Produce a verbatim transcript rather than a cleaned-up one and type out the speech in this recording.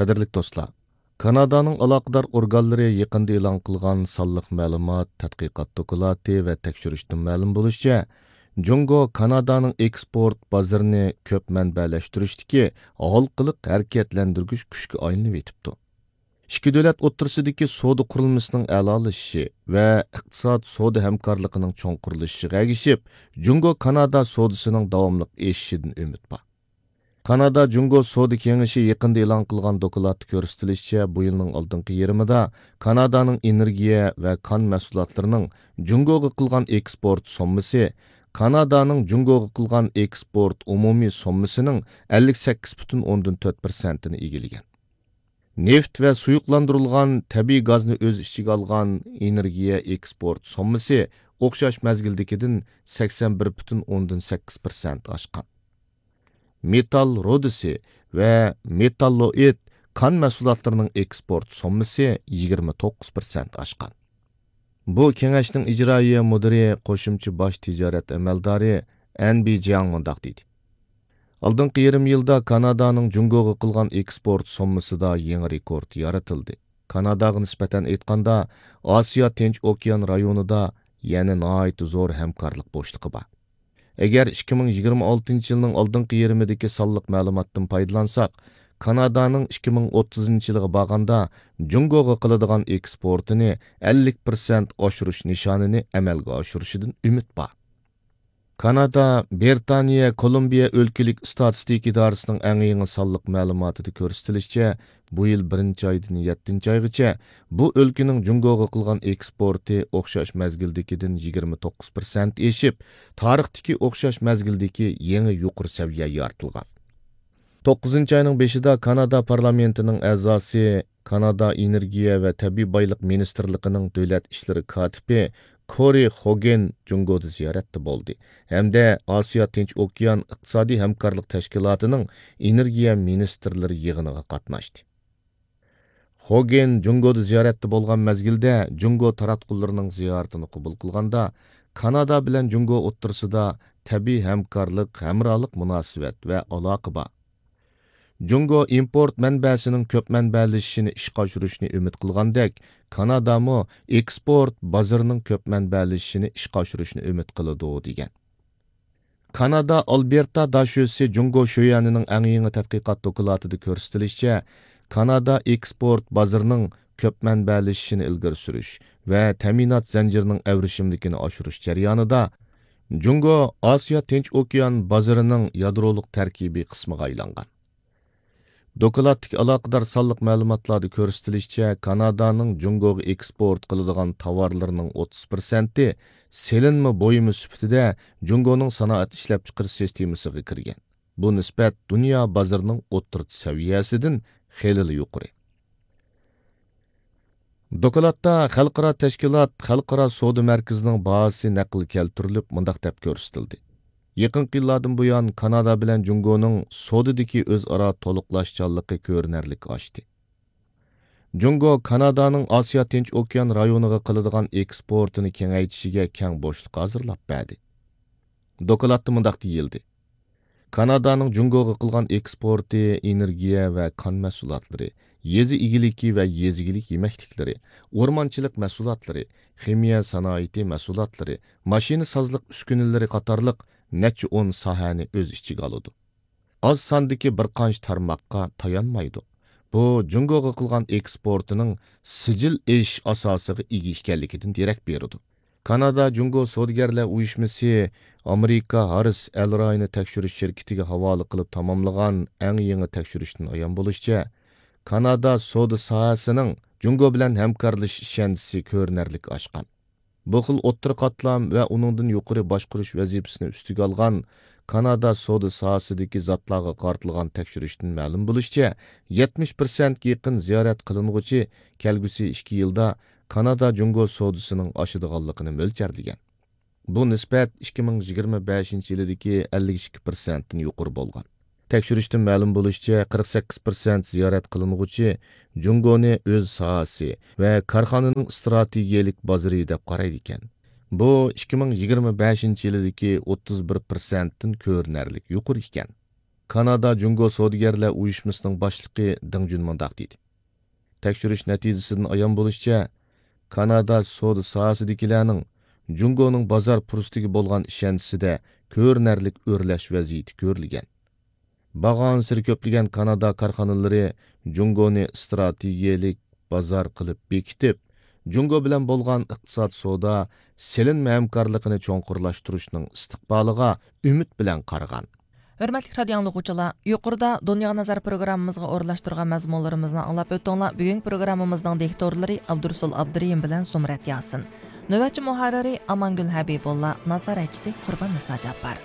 قەدىرلىك دوستلار، كانادانىڭ ئالاقىدار ئورگانلىرى يېقىندا ئېلان قىلغان سانلىق مەلۇمات، تەتقىقات دوكلاتى ۋە تەكشۈرۈشتىن مەلۇم بولۇشىچە، جۇڭگو كانادانىڭ ئېكسپورت بازىرىنى كۆپ مەنبەلەشتۈرۈشتىكى ھالقىلىق ھەرىكەتلەندۈرگۈچ كۈچكە ئايلىنىۋېتىپتۇ. ئىككى دۆلەت ئوتتۇرىسىدىكى سودا قۇرۇلمىسىنىڭ ئەلالىشىشى ۋە ئىقتىساد سودا ھەمكارلىقىنىڭ چوڭقۇرلىشىشىغا ئەگىشىپ، جۇڭگو كانادا سودىسىنىڭ داۋاملىق ئېشىشىدىن ئۈمىد بار. كانادا جۇڭگو سودا كېڭىشى يېقىندا ئېلان قىلغان دوكلاتتا كۆرسىتىلىشىچە، بۇ يىلنىڭ ئالدىنقى يېرىمىدا كانادانىڭ ئېنېرگىيە ۋە كان مەھسۇلاتلىرىنىڭ جۇڭگوغا قىلغان ئېكسپورت سوممىسى كانادانىڭ جۇڭگوغا قىلغان ئېكسپورت ئومۇمىي سوممىسىنىڭ ئەللىك سەككىز پۈتۈن ئوندىن تۆت پىرسەنتىنى ئىگىلىگەن. نېفىت ۋە سۇيۇقلاندۇرۇلغان تەبىئىي گازنى ئۆز ئىچىگە ئالغان ئېنېرگىيە ئېكسپورت سوممىسى ئوخشاش مەزگىلدىكىدىن سەكسەن بىر پۈتۈن ئوندىن سەككىز پىرسەنت ئاشقان. مېتال رۇدىسى ۋە مېتاللوئىد كان مەھسۇلاتلىرىنىڭ ئېكسپورت سوممىسى يىگىرمە توققۇز پىرسەنت ئاشقان. بۇ كېڭەشنىڭ ئىجرائىيە مۇدىرى، قوشۇمچە باش تىجارەت ئەمەلدارى ئەن بى جياڭ مۇنداق دېدى: ئالدىنقى يېرىم يىلدا كانادانىڭ جۇڭگوغا قىلغان ئېكسپورت سوممىسىدا يېڭى رېكورت يارىتىلدى. كاناداغا نىسبەتەن ئېيتقاندا، ئاسىيا تىنچ ئوكيان رايونىدا يەنە ناھايىتى زور ھەمكارلىق بوشلۇقى بار. ئەگەر ئىككى مىڭ يىگىرمە ئالتىنچى يىلنىڭ ئالدىنقى يېرىمىدىكى سانلىق مەلۇماتتىن پايدىلانساق، كانادانىڭ ئىككى مىڭ ئوتتۇزىنچى يىلغا بارغاندا جۇڭگوغا قىلىدىغان ئېكسپورتىنى ئەللىك پىرسەنت ئاشۇرۇش نىشانىنى ئەمەلگە ئاشۇرۇشىدىن ئۈمىد بار. كانادا، بىرىتانىيە، كولومبىيە ئۆلكىلىك ئىستاتىستىكا ئىدارىسىنىڭ ئەڭ يېڭى سانلىق مەلۇماتىدا كۆرسىتىلىشىچە، بۇ يىل بىرىنچى ئايدىن يەتتىنچى ئايغىچە بۇ ئۆلكىنىڭ جۇڭگوغا قىلغان ئېكسپورتى ئوخشاش مەزگىلدىكىدىن يىگىرمە توققۇز پىرسەنت ئېشىپ، تارىختىكى ئوخشاش مەزگىلدىكى يېڭى يۇقىرى سەۋىيە يارىتىلغان. توققۇزىنچى ئاينىڭ بېشىدا كانادا پارلامېنتىنىڭ ئەزاسى، كانادا ئېنېرگىيە ۋە تەبىئىي بايلىق مىنىستىرلىقىنىڭ دۆلەت ئىشلىرى كاتىپى كورى خوگېن جۇڭگودا زىيارەتتە بولدى ھەمدە ئاسىيا تىنچ ئوكيان ئىقتىسادىي ھەمكارلىق تەشكىلاتىنىڭ ئېنېرگىيە مىنىستىرلىرى يىغىنىغا قاتناشتى. خوگېن جۇڭگودا زىيارەتتە بولغان مەزگىلدە، جۇڭگو تاراتقۇلىرىنىڭ زىيارىتىنى قوبۇل قىلغاندا، كانادا بىلەن جۇڭگو ئوتتۇرىسىدا تەبىئىي ھەمكارلىق، ھەمراھلىق مۇناسىۋەت ۋە ئالاقە بار. جۇڭگو ئىمپورت مەنبەسىنىڭ كۆپ مەنبەلىشىشىنى ئىشقا ئاشۇرۇشنى ئۈمىد قىلغاندەك، كانادامۇ ئېكسپورت بازىرىنىڭ كۆپ مەنبەلىشىشىنى ئىشقا ئاشۇرۇشنى ئۈمىد قىلىدۇ، دېگەن. كانادا ئالبېرتا داشۆسى جۇڭگو شۆيۈەنىنىڭ ئەڭ يېڭى تەتقىقات دوكلاتىدا كۆرسىتىلىشىچە، كانادا ئېكسپورت بازىرىنىڭ كۆپ مەنبەلىشىشىنى ئىلگىرى سۈرۈش ۋە تەمىنات زەنجىرىنىڭ ئەۋرىشىملىكىنى ئاشۇرۇش جەريانىدا، جۇڭگو ئاسىيا تىنچ ئوكيان بازىرىنىڭ يادرولۇق تەركىبىي قىسمىغا ئايلانغان. دوكلاتتىكى ئالاقىدار سانلىق مەلۇماتلاردا كۆرسىتىلىشىچە، كانادانىڭ جۇڭگوغا ئېكسپورت قىلىدىغان تاۋارلىرىنىڭ ئوتتۇز پىرسەنتى سېلىنما بۇيۇمى سۈپىتىدە جۇڭگونىڭ سانائەت ئىشلەپچىقىرىش سىستېمىسىغا كىرگەن. بۇ نىسبەت دۇنيا بازىرىنىڭ ئوتتۇرىچە سەۋىيەسىدىن خېلىلا يۇقىرى. دوكلاتتا خەلقئارا تەشكىلات خەلقئارا سودا مەركىزىنىڭ باھاسى نەقىل كەلتۈرۈلۈپ، مۇنداق دەپ كۆرسىتىلدى: يېقىنقى يىللاردىن بۇيان، كانادا بىلەن جۇڭگونىڭ سودىدىكى ئۆزئارا تولۇقلاشچانلىقى كۆرۈنەرلىك ئاشتى. جۇڭگو كانادانىڭ ئاسىيا تىنچ ئوكيان رايونىغا قىلىدىغان ئېكسپورتىنى كېڭەيتىشىگە كەڭ بوشلۇق ھازىرلاپ بەردى. دوكلاتتا مۇنداق دېيىلدى: كانادانىڭ جۇڭگوغا قىلغان ئېكسپورتى ئېنېرگىيە ۋە كان مەھسۇلاتلىرى، يېزا ئىگىلىكى ۋە يېزا ئىگىلىك يېمەكلىكلىرى، ئورمانچىلىق مەھسۇلاتلىرى، خىمىيە سانائىتى مەھسۇلاتلىرى، ماشىنىسازلىق ئۈسكۈنىلىرى قاتارلىق نەچچە ئون ساھەنى ئۆز ئىچىگە ئالىدۇ. ئاز ساندىكى بىر قانچە تارماققا تايانمايدۇ. بۇ جۇڭگوغا قىلغان ئېكسپورتىنىڭ سىجىل ئېشىش ئاساسىغا ئىگە ئىكەنلىكىدىن دېرەك بېرىدۇ. كانادا جۇڭگو سودىگەرلەر ئۇيۇشمىسى ئامېرىكا ھاررىس ئەل رايونى تەكشۈرۈش شىركىتىگە ھاۋالە قىلىپ تاماملىغان ئەڭ يېڭى تەكشۈرۈشتىن ئايان بولۇشىچە، كانادا سودا ساھەسىنىڭ جۇڭگو بىلەن ھەمكارلىشىش ئىشەنچىسى كۆرۈنەرلىك ئاشقان. بۇ خىل ئوتتۇرا قاتلام ۋە ئۇنىڭدىن يۇقىرى باشقۇرۇش ۋەزىپىسىنى ئۈستىگە ئالغان كانادا سودا ساھەسىدىكى زاتلارغا قارىتىلغان تەكشۈرۈشتىن مەلۇم بولۇشىچە، يەتمىش پىرسەنتكە يېقىن زىيارەت قىلىنغۇچى كەلگۈسى ئىككى يىلدا كانادا جۇڭگو سودىسىنىڭ ئاشىدىغانلىقىنى مۆلچەرلىگەن. بۇ نىسبەت ئىككى مىڭ يىگىرمە بەشىنچى يىلىدىكى ئەللىك ئىككى پىرسەنتتىن يۇقىرى بولغان. تەكشۈرۈشتىن مەلۇم بولۇشىچە، قىرىق سەككىز پىرسەنت زىيارەت قىلىنغۇچى جۇڭگونى ئۆز ساھەسى ۋە كارخانىنىڭ ئىستراتېگىيەلىك بازىرى دەپ قارايدىكەن. بۇ ئىككى مىڭ يىگىرمە بەشىنچى يىلىدىكى ئوتتۇز بىر پىرسەنتتىن كۆرۈنەرلىك يۇقىرى ئىكەن. كانادا جۇڭگو سودىگەرلەر ئۇيۇشمىسىنىڭ باشلىقى دېڭ جۈن مۇنداق دېدى: تەكشۈرۈش نەتىجىسىدىن ئايان بولۇشىچە، كانادا سودا ساھەسىدىكىلەرنىڭ جۇڭگونىڭ بازار پۇرسىتىگە بولغان ئىشەنچىسىدە كۆرۈنەرلىك ئۆرلەش ۋەزىيىتى كۆرۈلگەن. بارغانسېرى كۆپلىگەن كانادا كارخانىلىرى جۇڭگونى ئىستراتېگىيەلىك بازار قىلىپ بېكىتىپ، جۇڭگو بىلەن بولغان ئىقتىساد، سودا، سېلىنما ھەمكارلىقىنى چوڭقۇرلاشتۇرۇشنىڭ ئىستىقبالىغا ئۈمىد بىلەن قارىغان. ھۆرمەتلىك رادىئو ئاڭلىغۇچىلار، يۇقىرىدا دۇنياغا نەزەر پروگراممىمىزغا ئورۇنلاشتۇرغان مەزمۇنلىرىمىزنى ئاڭلاپ ئۆتتۈڭلار. بۈگۈنكى پروگراممىمىزنىڭ دىكتورلىرى ئابدۇرۇسۇل ئابدۇرېھىم بىلەن زۇمرەت ياسىن. نۆۋەتچى مۇھەررىرى ئامانگۈل ھەبىبۇللا، نازارەتچىسى قۇربان نىسا جاپپار.